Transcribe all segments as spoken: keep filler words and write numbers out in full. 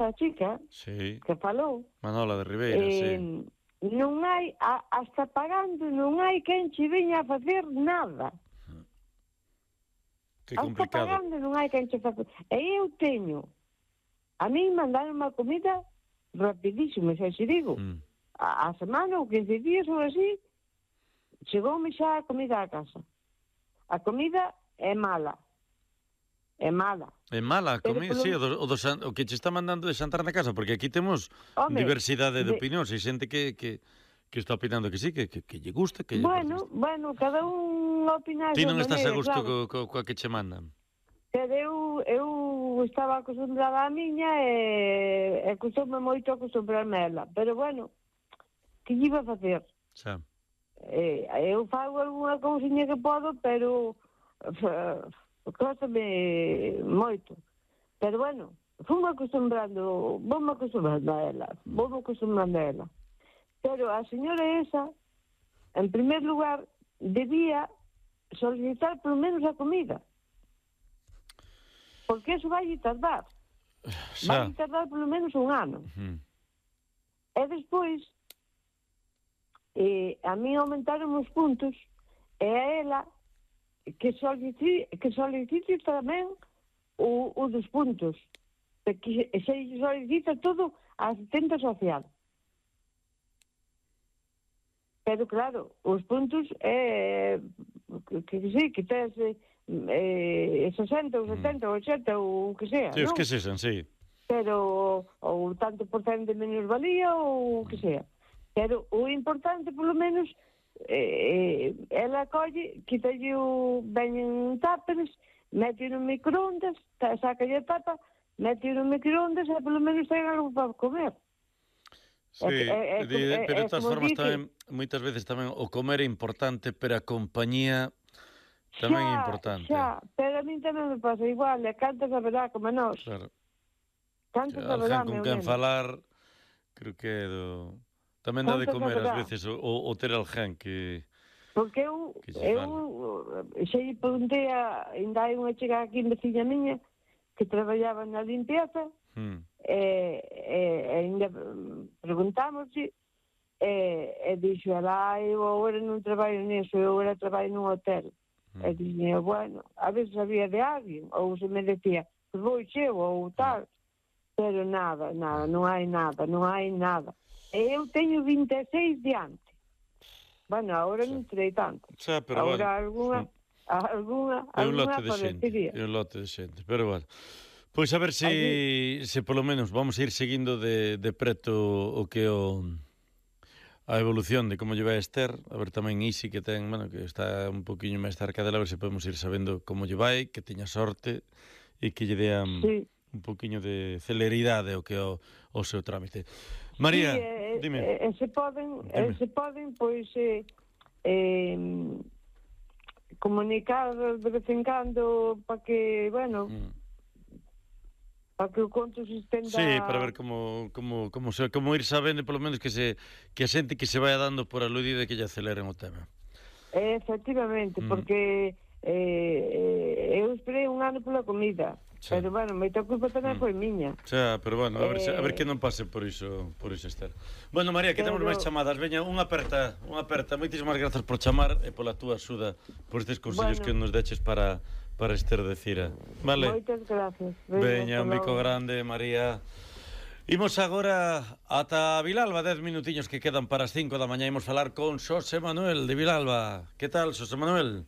esa chica sí. que falou. Manola de Ribeira, eh, sí. Non hai, a, hasta pagando, non hai quen che veña a facer nada. Que Hasta complicado. pagando non hai quen che facer. E eu teño, a mí mandaron unha comida rapidísimo, xa se digo. Mm. A, a semana ou quince días ou así, chegoume xa a comida a casa. A comida é mala. É mala. É mala a Pero comida, polo- sí, o, do, o, do, san- o que che está mandando de xantar na casa, porque aquí temos Home, diversidade de, de- opinións, e xente que, que, que está opinando que sí, que, que, que lle gusta, que lle Bueno, parece. bueno, cada un opina a Ti súa non estás a maneira, gusto claro. co, co, coa que che mandan. Pero eu, eu estaba acostumbrada á miña e, e custoume moito acostumbrarme a ela. Pero bueno, que lle iba a facer? Xa. Eh, eu fago algunha cousiña que podo, pero costame moito. Pero bueno, fume acostumbrando, voume acostumbrando a ela, voume acostumbrando a ela. Pero a señora esa, en primer lugar, debía solicitar polo menos a comida. Porque eso vai tardar. Xa. Vai tardar polo menos un ano. Mm. E despois, eh, a mí aumentaron os puntos, e a ela que solicite, que solicite tamén o, o dos puntos. Que se solicita todo a asistente social. Pero claro, os puntos é que, que sí, que tes eh, sesenta ou setenta ou oitenta ou o que sea, Sí, os non? que sexan, sí. Pero ou tanto por cento de menosvalía ou o que sea. Pero o importante, polo menos, eh, ela colle, quitalle o veñen táperes, mete no microondas, saca a tapa, mete no microondas e polo menos ten algo para comer. Sí, É, é, de, é, pero de é todas como formas di que- tamén, moitas veces tamén o comer é importante, pero a compañía tamén é Xa, importante. xa, pero a mí tamén me pasa igual, e cantas a verdad como nós. Claro. Cantas a verdad, Alguén con meu quen neno. falar, creo que é do... Tamén dá de Cantas a comer ás verdad. veces o, o ter alguén que... Porque eu, Que se eu xa lle preguntei a, ainda hai unha chica aquí en veciña miña que traballaba na limpieza, Hmm. e, e, e ainda preguntamos e, e dixo ela, eu agora non traballo nisso, eu agora traballo nun hotel. Hmm. E dixo, bueno, a veces sabía de alguén, ou se me decía, pues vou cheo, ou tal, pero nada, nada, non hai nada, non hai nada. E eu teño vinte e seis diante. Bueno, agora non terei tanto. Xa, pero Agora bueno. alguna, alguna, É un alguna lote de xente, parecería. é un lote de xente, pero bueno. Pois a ver se, se polo menos vamos a ir seguindo de, de preto o que o a evolución de como lle vai a Esther, a ver tamén Isi que ten, bueno, que está un poquinho máis cerca dela, a ver se podemos ir sabendo como lle vai, que teña sorte e que lle dea Sí. un poquinho de celeridade o que é o, o seu trámite. María, Sí, eh, dime. eh, se poden, Dime. eh, se poden, pois, eh, eh, comunicar de vez en cando para que, bueno, Mm. para que o conto se estenda... Sí, para ver como como como se como ir sabendo polo menos que se que a xente que se vaya dando por aludida que lle aceleren o tema. Eh, efectivamente, Mm. porque eh, eu esperei un ano pola comida, Sí. pero, bueno, moita culpa tamén Mm. foi miña. Xa, pero bueno, a ver, se, a ver Eh, que non pase por iso, por iso Esther. Bueno, María, que temos Pero- máis chamadas. Veña, unha aperta, unha aperta. Moitísimas grazas por chamar e pola túa axuda, por estes consellos Bueno. que nos deches para para Esther de Cira. Vale. Moitas gracias. Veña, un hasta bico logo. grande, María. Imos agora ata Vilalba, dez minutiños que quedan para as cinco da mañá. Imos falar con Xosé Manuel de Vilalba. Que tal, Xosé Manuel?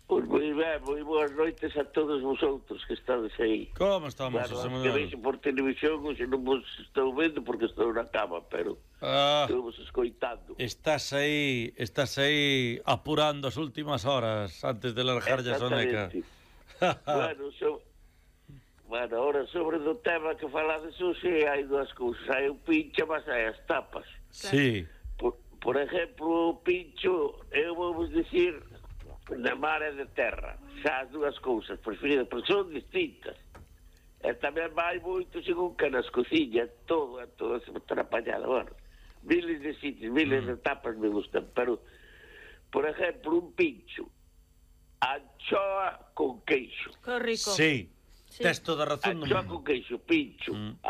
Pois moi ben, moi boas noites a todos vosotros que estades aí. Como estamos, Claro, Xosé que Manuel? veixo por televisión, hoxe non vos estou vendo porque estou na cama, pero Ah, estou vos escoitando. estás aí, estás aí apurando as últimas horas antes de largar a soneca. Exactamente. bueno, so... bueno, ahora sobre do tema que falades hoxe hai dúas cousas. Hai o pincho, mas hai as tapas. Sí. Por, por exemplo, o pincho, eu vou vos dicir de mar e de terra. Xa as dúas cousas preferidas, porque son distintas. E tamén vai moito según que nas cociñas, todo, é todo se atrapallado. Bueno, miles de sitios, miles mm. de tapas me gustan, pero, por exemplo, un pincho, anchoa con queixo. Que rico. Sí. Sí. Tes toda a razón. Anchoa non- con queixo, pincho. Mm.